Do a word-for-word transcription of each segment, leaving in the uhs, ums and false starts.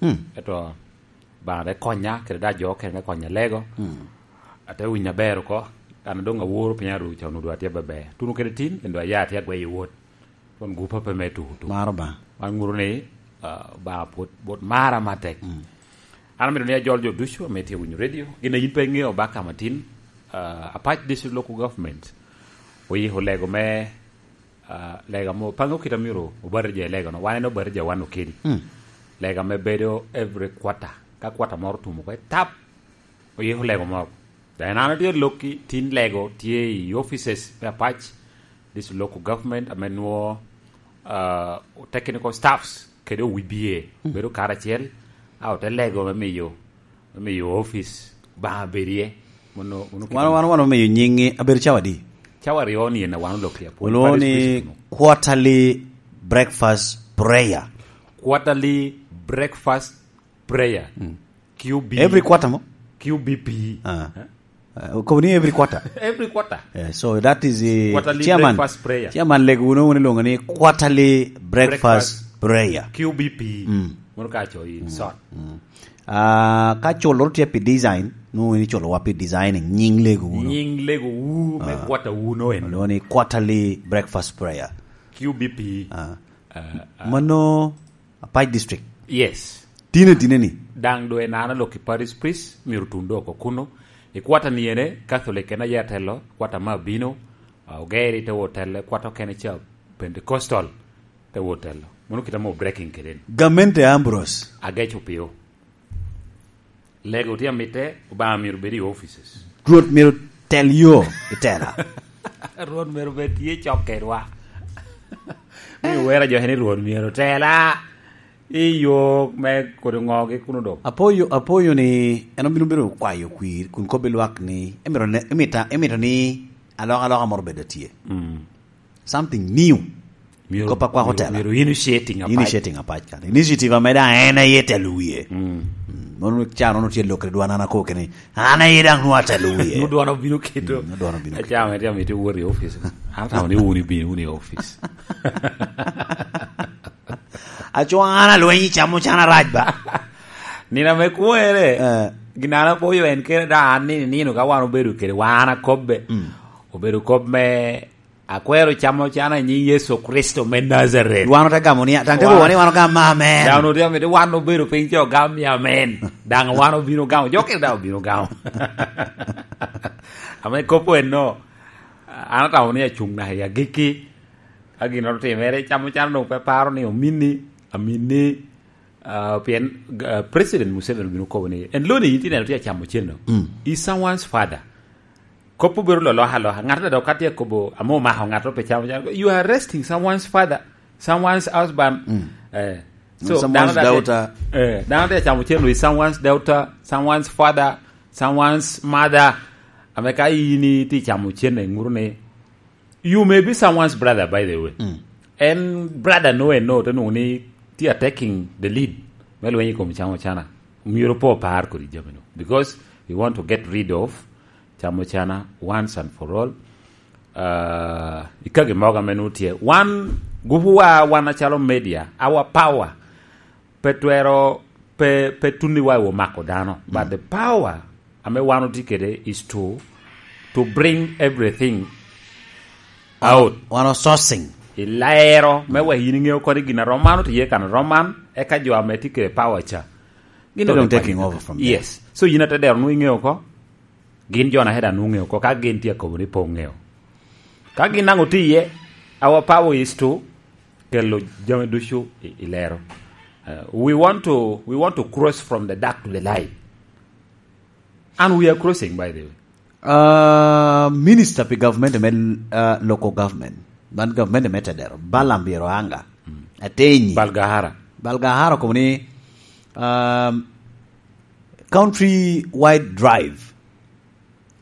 Mm. Eto, ba te konya, kede da jo kene te konya lego. Mm. Ate winyo aber oko, an doŋ aworo piny aru ca onwoŋo atye beber. Tuno kede tin, kendo aya atye agweyo wot. Kun gupa pe me tuko tuko. Maro ba. Man ŋuto ni, ah, ba pwod, pwod mara matek. Mm. An amito ni ajol jo ducu ame tye winyo radio. Gin a yin pe iŋeo ba kama tin, ah, Apac District Local Government oyiko lego me, ah, lega mo, pe aŋeo kit amyero obatija i lega no. Wan en obatija wan okedi. Mm. Lega me bedo every quarter. Ka quarter moro otumo oko, etap, oyiko lego moro. Then an atye lokki, tin lego tye i offices me Apac, this local government, ame nwo, ah, technical staffs, kede O B A, mm, bedo karacel, a ote lego me miyo, me miyo office ba bedie. Mono, mono kit Wan, wan, wan omiyo nyingi abedo cawa di? Cawa aryo ni en a wan olok i Apwony Olwongo Parish ni Priest kuno. Quarterly breakfast prayer. Quarterly breakfast prayer. Mm. Q B. Every quarter mo? Q B P. Ah. Eh? Uh, kobo ni every quarter. Every quarter. Yeah, so that is a Quarterly chairman. Breakfast prayer. Chairman lego uno uno longo ni quarterly breakfast Breakfast. Prayer. Q B P. Mm. Mono ka cho in sot. Mm. Ah, ka culo tye pi design, no ni culo wa pi designing, nying lego uno. Nying lego u me Ah. Quarter uno en. Lo ni quarterly breakfast prayer. Q B P. Ah. Ah, ah. Mano Apac District. Yes. Tine, tine ni. Daŋ doŋ en an alok i Parish Priest, myero tun dok oko kuno. I kwata ni ene, Catholic en aye atelo, kwata ma abino, ah, Ogeri te wot telo, kwata okene ca Pentecostal te wot telo. Mono kite amo breaking kede ni. Gamente Ambrose. Ageco pio. Lego tye amitte, Obaŋa myero bed i offices. Rwot myero tel yo i tela. Rwot myero bed tye cok kedwa. Mi wera jo ni Rwot myero tela i yo me kodi ŋogi kuno dok. Apoyo, apoyo ni en obino bedo kwayo kwir, kun kobbi lwak ni, emito ne, emita, emito ni alok aloka moro bed tye. Mm. Something new. Myero, Kop akwako myero, tela. Myero initiating apac. Initiating apac kan. Initiative ame daŋ en aye telo wie. Mm. Mm. Mono ca nono tye lok i dwan an ako kene. An aye daŋ nwa telo wie. Nu dwan obino keto. Mm, nu dwan obino keto. Aca ame tye amito wot i office. An atamo ni wun ibino wun i office. Aco an alweny i camo can arac ba. Nino ame kwere. Eh. Gin an apoyo en kene da an ni nino ka wan obedo kede wan akobbe. Mm. Obedo kop me Akwero camo cana i nyiŋ Yecu Kricito me Najaret. Wan ote gamo ni, daŋ te Wan- kobo ni wan ogamo amen. Daŋ ote amito wan obedo piny ca ogam ni amen. Daŋ wan obino gamo, jo kene daŋ obino gamo. Ame kop en no, an atamo ni acuŋ naka i agikki. Ka ginnoro otimere, camo cana doŋ pe paro ni ominni, aminni, Ah, pien, ah, President Museveni obino kobo ni, en lo ni yin tineno tye acamo cen no. Mm. Is someone's father. Kop obedo loloka aloka. Ŋat dok ka tye kobo, ame omako ŋat pe camo cen. You are arresting someone's father, someone's husband. Mm. Eh. So, someone's dano dok daughter. Eh, dano tye acamo cen no, is someone's daughter, someone's father, someone's mother. Ame ka yin itye camo cen no, iŋuto ni, You may be someone's brother, by the way. Mm. En brother no, en no, te nwoŋo ni tye a taking the lead me lweny i kom camo cana. Myero pe opar kodi jami no. Because we want to get rid of camo cana once and for all. Uh, i kagi mogo ame nwoŋo tye. Wan, gupuwa, wan acalo media, our power pe twero, pe, pe tunniwa i omako dano. But the power ame wan otye kede is to, to bring everything out. Wan o sourcing. I lero, me wek yin iŋeo kodi gin a rom man otye kan rom man, eka jo ame tye kede power ca. Gin They're doŋ taking over from there. Yes. So yin ate dero nwoŋo iŋeo ko. Gin jo na heda nwoŋo ŋeo ko, ka gin tye akobo ni pe oŋeo. Ka gin daŋ otye iye, our power is to kelo jami ducu i, i lero. Uh, we want to, we want to cross from the dark to the light. And we are crossing, by the way. Uh, minister pi government me, uh, local government, man government me Tedero, Balaam Byero Anga, mm, Atenyi. Balgahara. Balgahara okobo ni, um, country wide drive.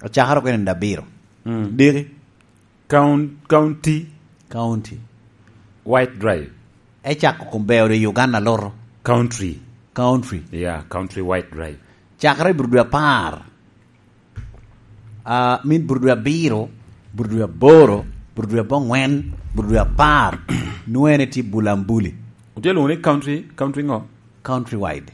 Ocakere oko en abiro. Mm. Diki. Coun-, county. County. Wide drive. Ecako kom beo de Uganda loro. Country. Country. Yeah, country wide drive. Cakere i bur dwe apar. Ah, min bur dwe abiro, bur dwe aboro, bur dwe abongwen, bur dwe apar. Nwoŋo en etye Bulambuli. Otye lwoŋo ni country, country ŋo? Country wide.